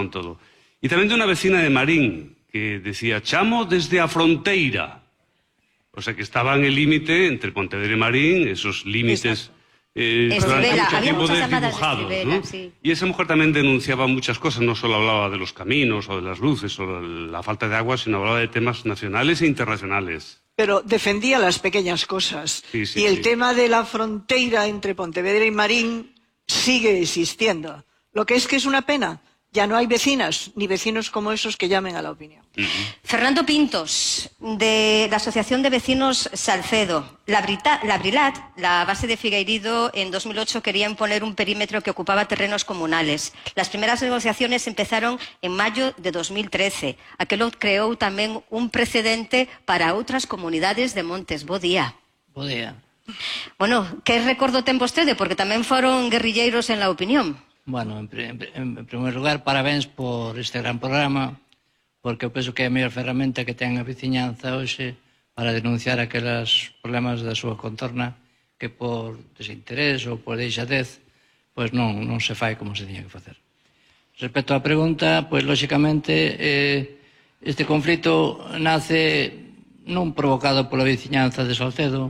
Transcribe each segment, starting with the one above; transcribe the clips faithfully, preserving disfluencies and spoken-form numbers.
con todo. E tamén de unha vecina de Marín, que decía, chamo desde a fronteira. O sea, que estaba en el límite entre Pontevedra e Marín, esos límites eh, durante Estribela, mucho había tiempo muchas llamadas de desdibujados, Estribela, ¿no? sí. Y esa mujer también denunciaba muchas cosas, no solo hablaba de los caminos o de las luces o de la falta de agua, sino hablaba de temas nacionales e internacionales. Pero defendía las pequeñas cosas. Sí, sí, y el sí. tema de la frontera entre Pontevedra y Marín sigue existiendo. Lo que es que es una pena. Ya no hay vecinas, ni vecinos como esos que llamen a la opinión. Uh-huh. Fernando Pintos, de la Asociación de Vecinos Salcedo. La, Brita, la Brilat, la base de Figueiredo, en dos mil ocho quería imponer un perímetro que ocupaba terrenos comunales. Las primeras negociaciones empezaron en mayo de dos mil trece. Aquelo creou tamén un precedente para outras comunidades de Montes. Bo día. Bo día. Bueno, que recordo ten vostede? Porque tamén foron guerrilleiros en la opinión. Bueno, en, en, en primer lugar, parabéns por este gran programa, porque eu penso que é a mellor ferramenta que ten a veciñanza hoxe para denunciar aqueles problemas da súa contorna que por desinterés ou por deixadez pois non, non se fai como se tiña que facer. Respecto á pregunta, pois lóxicamente eh, este conflito nace non provocado pola veciñanza de Salcedo.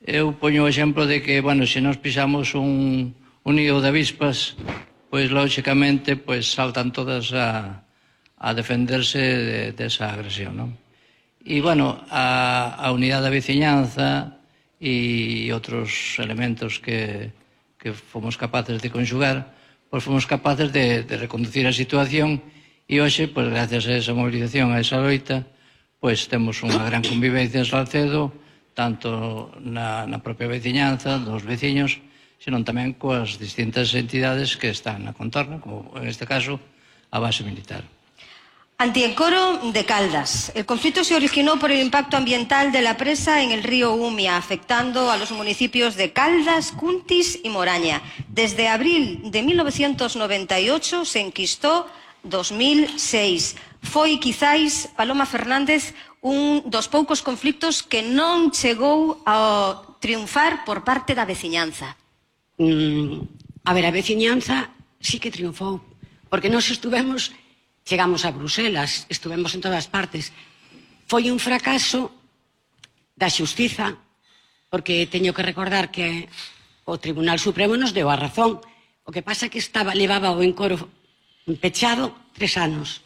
Eu poño o exemplo de que, bueno, se nos pisamos un un nido de avispas, pois lóxicamente pois saltan todas a, a defenderse de, de esa agresión, non? E, bueno, a, a unidade da veciñanza e outros elementos que, que fomos capaces de conxugar, pois fomos capaces de, de reconducir a situación e hoxe, pois gracias a esa movilización, a esa loita, pois temos unha gran convivencia en Salcedo, tanto na, na propia veciñanza, dos veciños, senón tamén coas distintas entidades que están na contorna, como en este caso a base militar. Antiencoro de Caldas. El conflicto se originó por el impacto ambiental de la presa en el río Umia, afectando a los municipios de Caldas, Cuntis y Moraña. Desde abril de mil novecientos noventa y ocho se enquistó dos mil seis. Foi, quizáis, Paloma Fernández, un dos poucos conflictos que non chegou a triunfar por parte da veciñanza. Mm, a ver, a veciñanza sí que triunfou, porque nós estuvemos, chegamos a Bruselas, estuvemos en todas partes. Foi un fracaso da xustiza, porque teño que recordar que o Tribunal Supremo nos deu a razón. O que pasa que estaba, levaba o encoro pechado tres anos.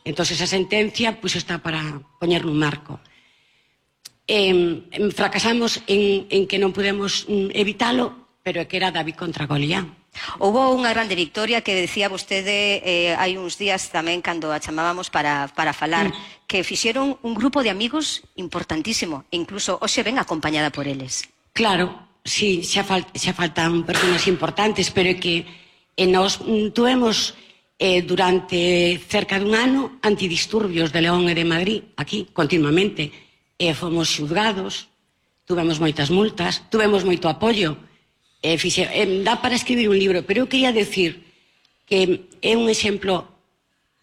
Entón, esa sentencia pues, está para poñer nun marco. Eh, fracasamos en, en que non podemos mm, evitalo, pero é que era David contra Goliat. Houbo unha grande victoria que decía vostede eh, hai uns días tamén cando a chamábamos para, para falar, mm. que fixeron un grupo de amigos importantísimo, e incluso hoxe ven acompañada por eles. Claro, sí, xa, fal, xa faltan personas importantes, pero é que eh, nos tuvemos eh, durante cerca dun ano antidisturbios de León e de Madrid, aquí, continuamente. Eh, fomos xuzgados, tuvemos moitas multas, tuvemos moito apoio. Eh, fixe, eh, dá para escribir un libro, pero eu quería decir que é un exemplo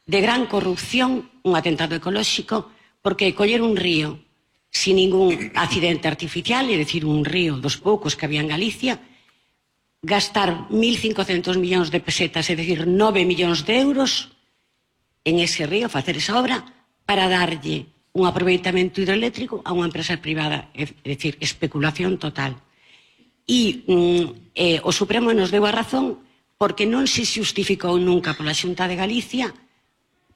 de gran corrupción, un atentado ecolóxico, porque coller un río sin ningún accidente artificial, é dicir, un río dos poucos que había en Galicia, gastar mil cincocentos millóns de pesetas, é dicir, nove millóns de euros en ese río, facer esa obra, para darlle un aproveitamento hidroeléctrico a unha empresa privada, é dicir, especulación total. E mm, eh, o Supremo nos deu a razón porque non se xustificou nunca pola Xunta de Galicia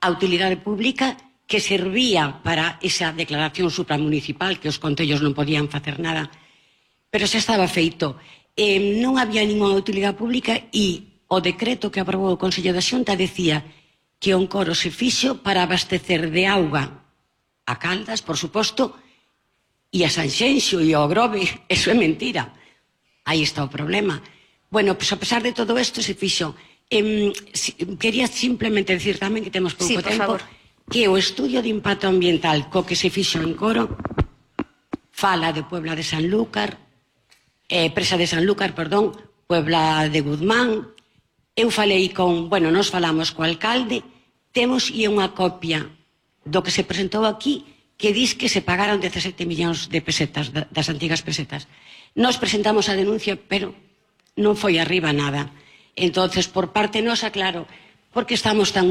a utilidade pública que servía para esa declaración supramunicipal que os concellos non podían facer nada, pero xa estaba feito. Eh, non había ninguna utilidade pública e o decreto que aprobou o Consello da Xunta decía que o encoro se fixo para abastecer de auga a Caldas, por suposto, e a Sanxenxo e ao Grove. Eso é mentira. Aí está o problema. Bueno, pues a pesar de todo isto se fixo. Eh, si, quería simplemente decir tamén que temos pouco sí, tempo, favor. Que o estudio de impacto ambiental co que se fixo en Coro fala de Puebla de Sanlúcar, eh, Presa de Sanlúcar, perdón, Puebla de Guzmán. Eu falei con, bueno, nos falamos co alcalde, temos e unha copia do que se presentou aquí que dis que se pagaron dezasete millóns de pesetas, das antigas pesetas. Nos presentamos a denuncia, pero non foi arriba nada. Entonces, por parte nosa, claro, porque estamos tan unidos,